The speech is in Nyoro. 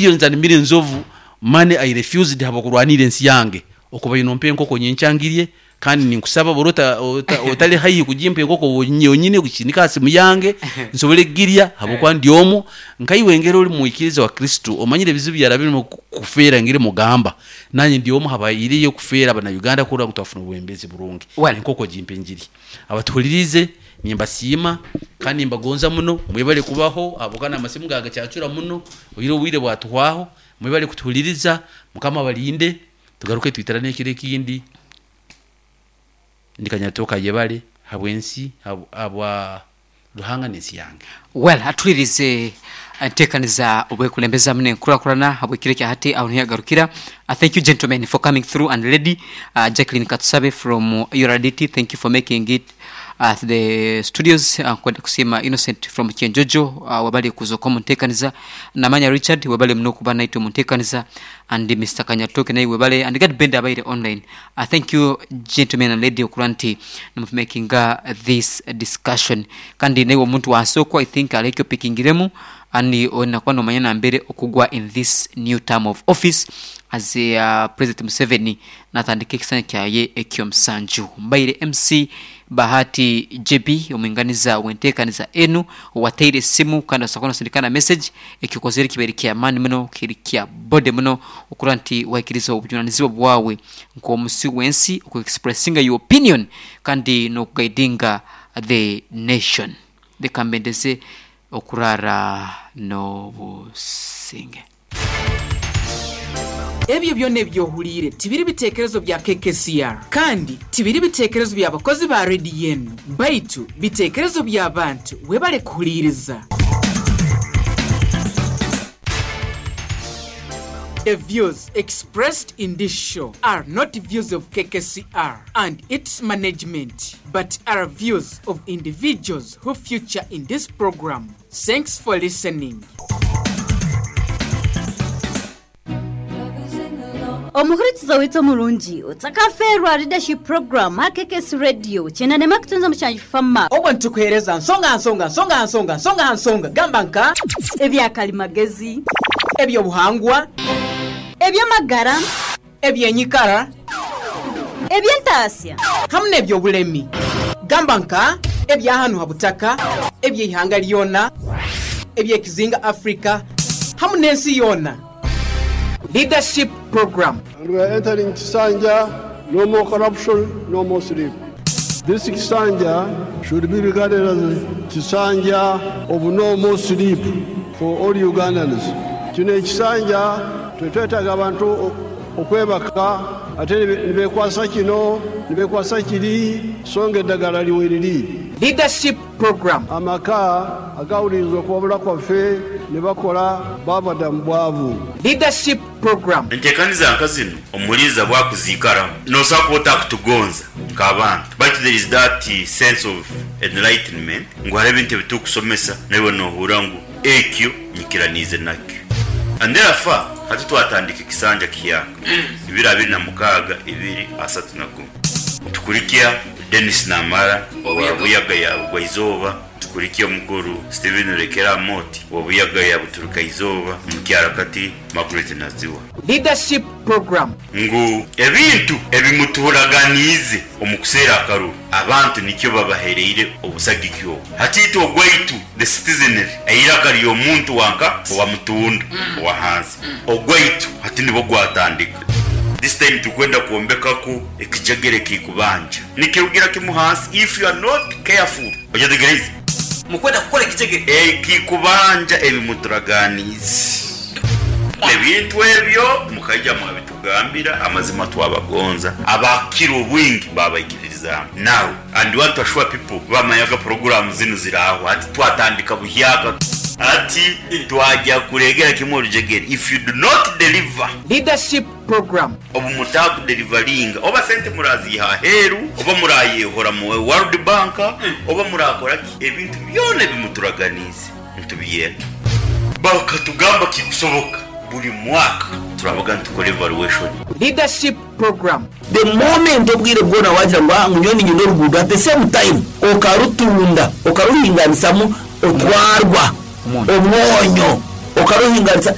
Millions and millions of money I refused habw'okurwanirra ensi yange okubaire nompa enkoko nyenkya ngirye kandi ninkusaba bw'oba otali haihi kugimpa enkoko yonyini gisindike ha simu yange nsobole kugirya habwokuba ndi omu. Nkaiwe engeri ori mwikiriza wa Kristo omanyire ebizibu byarabiremu kufeera engeri mugamba nanye ndi omu habaireyo kufeera abana Uganda kurora ngu twafuna obwebembezi burungi. Enkoko gimpe ngirye. Abatuhuliriize nimbasiima kandi nimbagonza muno, mwebale kubaho ahabw'okuba n'amasimu gaagacacura muno, oihireho obwire bwatuhwaho. Mwebale kutuhuliriza, Mukama abalinde, tugaruke twitirane ekiro ekindi. Ndi Kanyatooka yebale habw'ensi, habwa Ruhanga n'ensi yange. Well, atuhulirize entekaniza obwekulembeza hamu n'enkurakurana habw'ekiro ekya hati aho niho yagarukira. Thank you gentlemen for coming through and lady Jacqueline Katusabe from URDT thank you for making it to the studios. Nkwenda kusiima Innocent from Kyenjojo webale kuza omu ntekaniza. Namanya Richard webale muno kuba naitwe omu ntekaniza and Mister Kanyatoke naiwe webale and Gad Benda abaire online. Thank you gentlemen and lady okurora nti nimutumakinga this discussion. Kandi naiwe omuntu wansi okwo I think hariho eki opikingiremu and oine kuba nomanya nambere okugwa in this new term of office as President Museveni natandika ekisanja kyaye ekyomusanju. Mbaire MC Bahati JB omwinganiza wentekaniza enu owataire esimu kandi osobola kuba nosindika na message. Eki okozere kibaire kyamaani muno, kiri kya body muno okurora nti wahikiriza obujunanizibwa bwawe nk'omusi w'ensi oku expressinga your opinion kandi n'okugaidinga the nation. Leka mbendeze okuraara n'obusinge. Ebyo byona ebi ohuliire tibiri bitekerezo bya KKCR kandi tibiri bitekerezo bya bakozi ba rediyo enu, baitu bitekerezo by'abantu. Webale kuhuliiriza. The views expressed in this show are not views of KKCR and its management but are views of individuals who feature in this program. Thanks for listening. Omuhurikiza waitu omurungi, otakafeerwa Leadership Program aha KKS Radio kyenda nema kutunza mushanju Fama. Obwo nitukuheereza nsonga aha nsonga, nsonga aha nsonga, nsonga aha nsonga, gamba nka. Ebya karimagezi. Eby'obuhangwa. Eby'amagara. Eby'enyikara. Eby'entaasya. Hamu n'eby'obulemi, gamba nka ebya hanu ha butaka, eby'eihanga lyona, eby'ekizinga Africa hamu n'ensi yoona. Leadership Program. And we are entering Kisanja, no more corruption, no more sleep. This Kisanja should be regarded as Kisanja of no more sleep for all Ugandans. Kino ekisanja tetwetaaga bantu okwebaka ate nibekwasa kino nibekwasa kiri so nga eddagala liweriri. Leadership Program. Amaka agawuliriza okuwabula kwaffe ne bakola baava dda mu bwavu. Leadership Program. Entekaniza nka zinu omuliiza bwakuziikaramu nosobola kuba otakutugonza nk'abantu baitu there is that sense of enlightenment ngu hariho ebintu ebitukusomesa naiwe nohurra ngu ekyo nyikiraniize nakyo and therefore hati twatandika ekisanja kihyaka ibiri abiri na mukaaga ibiri asatu na gumu nitukurikya Denis Namara owa Buyaga ya Bugwaizooba. Tukurikye omukuru Stephen Rekera Amooti owa Buyaga ya Buturukaizoba, Omukyarakathi Margaret Naziwa. Leadership Program. Ngu ebintu ebimutuhuraganiize omu kuseera akaruru, abantu nikyo babahereire obusagiki obu. Hati itwe ogwaitu, the citizenry, eiraka ry'omuntu wanka owa mutunda owa hansi, ogwaitu hati nibwo gwatandika. This time turikwenda kwombekaku ekijegere ekikubanja. Nikirugira kimu hansi if you are not careful. Okyetegereize? Mukwenda kukora ekijegere. Ekikubanja ebi muturaganiize. Ebintu ebyo mukaija mwabitugambira, amazima twabagonza, abakukira obwingi baabaikiririzaamu. Now, and want to assure people, bamanyaga puroguraamu zinu ziraaho, hati twatandika buhyaka. Hati twagya kuregera kimwe orujegere, if you do not deliver. Leadership Program. Obu mutaakuderivaringa, oba sente muraaziiha aheeru, oba muraayeehora mu World Bank, oba muraakora ki, ebintu byona ebi muturaganiize nitubyenda. Bakatugamba kikusoboka buri mwaka turabaga nitukora evaluation. Leadership Program. The moment obwire bwona wagira ngu ngu nyowe niinyenda oruguudo at the same time okarutunda okaruhinganisamu otwarwa omwonyo okaruhinganisa.